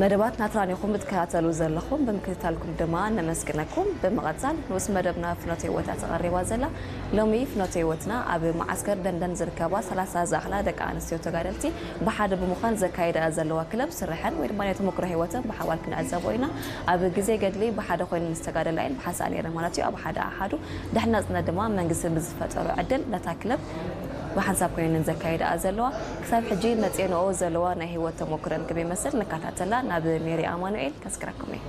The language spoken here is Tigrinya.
መደባት ናትራን ኢኹም ብትከታተሉ ዘለኹም ብምክትታልኩም ድማ ነመስግነኩም። ብምቐጻል ንኡስ መደብና ፍኖተ ህይወታ ተቐሪባ ዘላ። ሎሚ ፍኖተ ህይወትና ኣብ መዓስከር ደንደን ዝርከባ ሰላሳ ዝኣኽላ ደቂ ኣንስትዮ ተጋደልቲ ብሓደ ብምዃን ዘካይዳ ዘለዋ ክለብ ስርሐን ወይ ድማ ናይ ተመክሮ ህይወተን ብሓባር ክንዕዘቦ ኢና። ኣብ ግዜ ገድሊ ብሓደ ኮይነን ዝተጋደላ እየን ብሓንሳእ ነይረን ማለት እዩ። ኣብ ሓደ ኣሓዱ ድሕሪ ናጽነት ድማ መንግስቲ ብዝፈጠሮ ዕድል ነታ ክለብ ብሓንሳብ ኮይነን ዘካይዳ ዘለዋ። ክሳብ ሕጂ መጽየንኦ ዘለዋ ናይ ህይወት ተመክረን ክመይ መስል ንከታተላ ናብ ሜሪ ኣማኑኤል ከስክረኩም እየ።